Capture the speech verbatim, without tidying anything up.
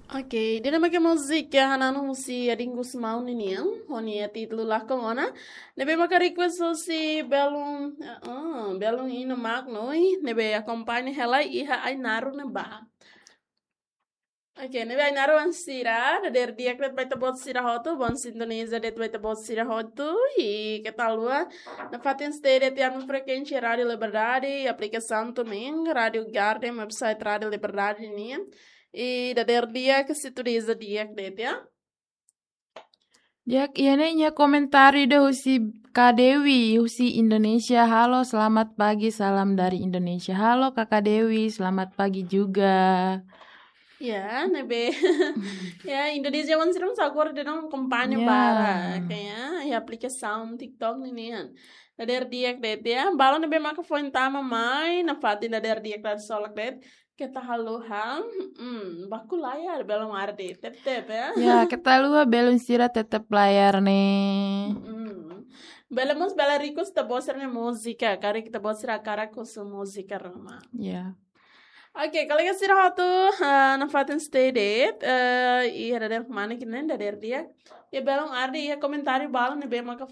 Oke, ida-ne'e maka múzika Hananu husi Adin Gusmão ninian, ho nia títulu Lakon Ona. Ne'ebé maka request husi belun, ah, belun Ina Mak Noi, ne'ebé akompaña hela iha Ainaro ne'ebá. Oke, ne'ebé Ainaro wan sira, dadeer di'ak de'it ba ita-boot sira hotu, bom sintonia de'it ba ita-boot sira hotu, i keta haluha nafatin stay de'it iha ami-nia frekuénsia Rádio Liberdade, aplikasaun TuneIn, Rádio Garden, website Rádio Liberdade nian. I dadeer di'ak, sintonia di'ak de'it ya. Di'ak, iha ne'e iha komentáriu ida husi Kak Dewi, husi Indonesia. Halo, selamat pagi, salam dari Indonesia. Halo, Kakak Dewi, selamat pagi juga. Ya, ne'ebé. Ya, Indonesia wan sira mós agora de'it akompaña Ya. barak, ya, iha aplikasaun TikTok ninian. Dadeer di'ak de'it ya. Balun ne'ebé maka foin tama mai, nafatin dadeer di'ak, dadeer solok de'it. Keta haluha, hmm, baku layar, belun arde, tep-tep ya. Ya, keta haluha belun sira tetap layar ne'e. Hmm. Bele mós bele request ita-boot sira-nia múzika, karik ita-boot sira hakarak husu múzika ruma. Ya. Oke, kolega sira hotu, ah, nafatin stay de'it, eh, iha dadeer kmanek ne'e, dadeer di'ak. Iha belun arde, iha komentáriu balun ne'ebé maka